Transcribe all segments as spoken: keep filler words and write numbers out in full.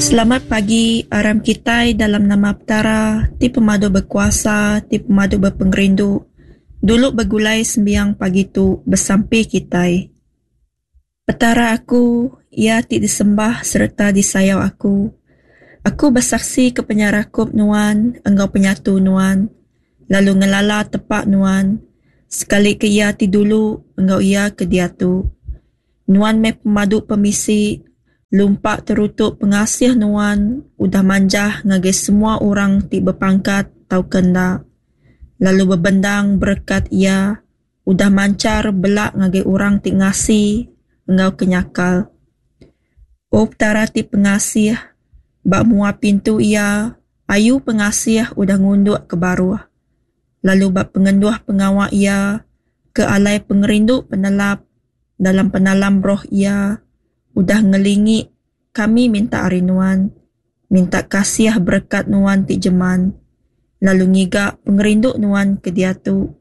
Selamat pagi aram kitai dalam nama Petara ti pemadu bekuasa ti pemadu bepengerindu dulu begulai sembiang pagi tu besampi kitai. Petara aku, Iya ti disembah sereta disayau aku. Aku besaksi ke penyerakup Nuan enggau penyatu Nuan, lalu ngelala tepa Nuan, sekali ke iya ti dulu enggau iya ke diatu. Nuan meh pemadu pemisi, lumpa terutu pengasih Nuan udah manjah ngagai semua orang ti bepangkat tauka enda, lalu bebendang berekat Iya udah manchar bela ngagai orang ti ngasi enggau ke nyakal. O Petara ti pengasih, ba mua pintu Iya ayu pengasih udah ngunduk ke baruh, lalu ba pengenduh pengawa Iya ke alai pengerindu penelap dalam penalam roh Iya udah ngelingi kami minta ari Nuan, minta kasih berekat Nuan ti jeman, lalu ngiga pengerindu Nuan ke diatu,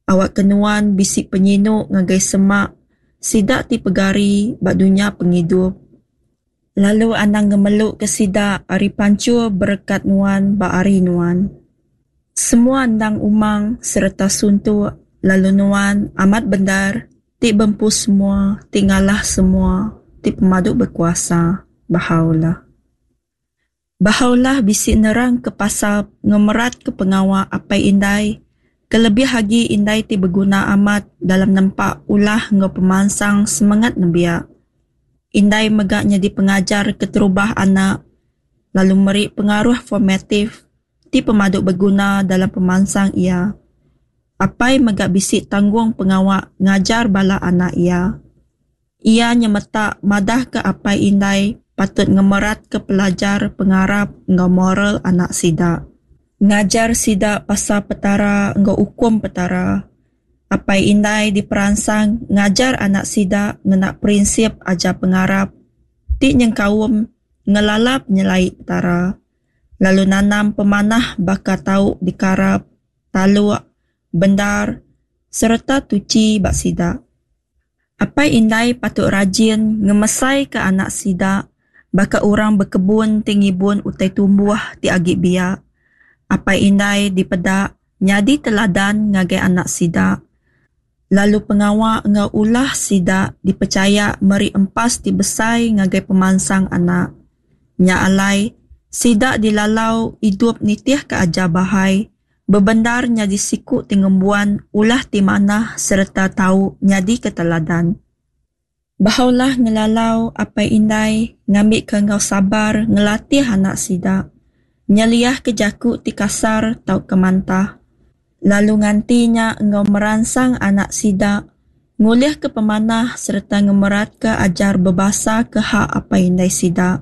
awakka Nuan bisi penyinu ngagai semak sida ti pegari ba dunya pengidup, lalu anang ngemeluka sida ari panchur berekat Nuan ba hari Nuan. Semua endang umang sereta suntuk, lalu Nuan amat bendar ti bempu semua, ti ngalah semua, ti pemadu bekuasa. Bahá'u'lláh. Bahá'u'lláh bisi nerangka pasal ngemeratka pengawa apai indai kelebih agi indai ti beguna amat dalam nempa ulah enggau pemansang semengat nembiak. Indai mega nyadi pengajar keterubah anak lalu meri pengaruh formatif ti pemadu beguna dalam pemansang iya. Apai mega bisi tanggung pengawa ngajar bala anak iya. Iya nyemetak madahka apai indai patut ngemeratka pelajar pengarap enggau moral anak sida. Ngajar sida pasal Petara enggau ukum Petara. Apai indai diperansang ngajar anak sida ngena prinsip ajar pengarap ti nyengkaum ngelala penyelai Petara, lalu nanam pemanah baka tau dikarap, taluk, bendar sereta tuchi ba sida. Apai indai patut rajin ngemesaika anak sida baka orang bekebun ti ngibun utai tumbuh ti agi biak. Apai indai dipeda nyadi teladan ngagai anak sida, lalu pengawa enggau ulah sida dipechaya meri empas ti besai ngagai pemansang anak. Nya alai, sida dilalau idup nitihka ajar Bahá'í, bebendar nyadi siku ti ngembuan ulah ti manah sereta tau nyadika teladan. Bahá'u'lláh ngelalau apai indai ngambika enggau sabar ngelatih anak sida, nyeliahka jaku ti kasar tauka mantah, lalu nganti nya enggau meransang anak sida ngulihka pemanah sereta ngemeratka ajar bebasa ke hak apai indai sida.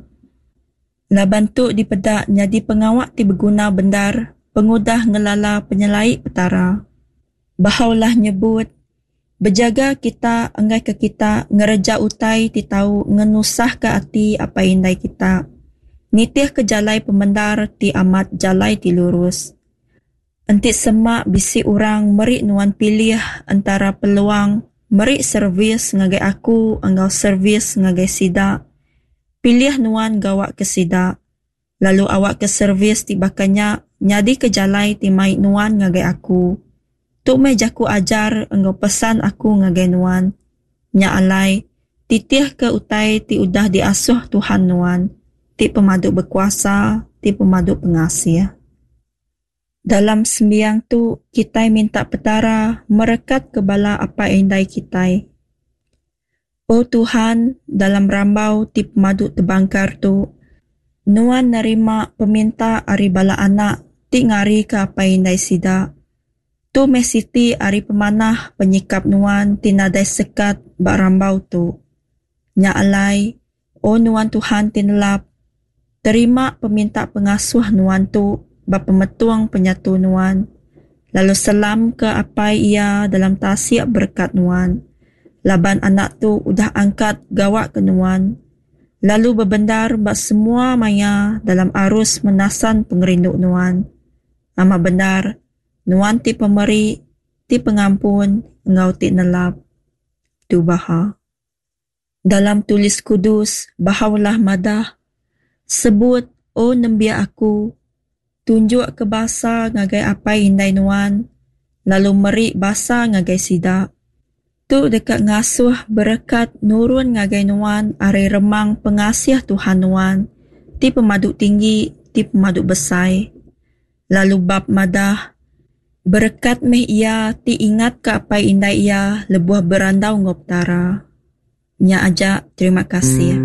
Laban tu dipeda nyadi pengawa ti beguna bendar pengudah ngelala penyelai Petara. Bahá'u'lláh nyebut, Bejaga kita enggaika kita ngereja utai ti tau ngenusahka ati apai indai kita. Nitihka jalai pemendar ti amat jalai ti lurus. Enti sema bisi orang meri nuan pilih entara peluang meri servis ngagai aku enggau servis ngagai sida, pilih nuan gawa ke sida, lalu awakka servis ti baka nya nyadika jalai ti mai nuan ngagai aku. Tu meh jaku ajar enggau pesan aku ngagai nuan. Nya alai, titihka utai ti udah diasuh Tuhan nuan, ti pemadu bekuasa, ti pemadu pengasih. Dalam sembiang tu, kitai minta Petara merekatka bala apai indai kitai. O Tuhan, dalam rambau ti pemadu tebangkar tu, Nuan nerima peminta ari bala anak ti ngarika apai indai sida. Tu meh siti ari pemanah penyikap Nuan ti nadai sekat ba rambau tu. Nya alai, O Nuan Tuhan ti nelap, terima peminta pengasuh Nuan tu ba pemetung penyatu Nuan, lalu selamka apai iya dalam tasik berekat Nuan, laban anak tu udah angkat gawa ke Nuan, lalu bebendar ba semua maya dalam arus menasan pengerindu Nuan. Amat bendar, Nuan ti pemeri, ti pengampun enggau ti nelap. Tu Baha. Dalam tulis kudus, Bahá'u'lláh madah, Sebut, O nembiak aku, tunjukka basa ngagai apai indai nuan, lalu meri basa ngagai sida. Tu deka ngasuh berekat nurun ngagai nuan ari remang pengasih Tuhan nuan, ti pemadu tinggi, ti pemadu besai. Lalu bab madah, berekat meh iya ti ingatka apai indai iya lebuh berandau enggau Petara. Nya aja, terima kasih.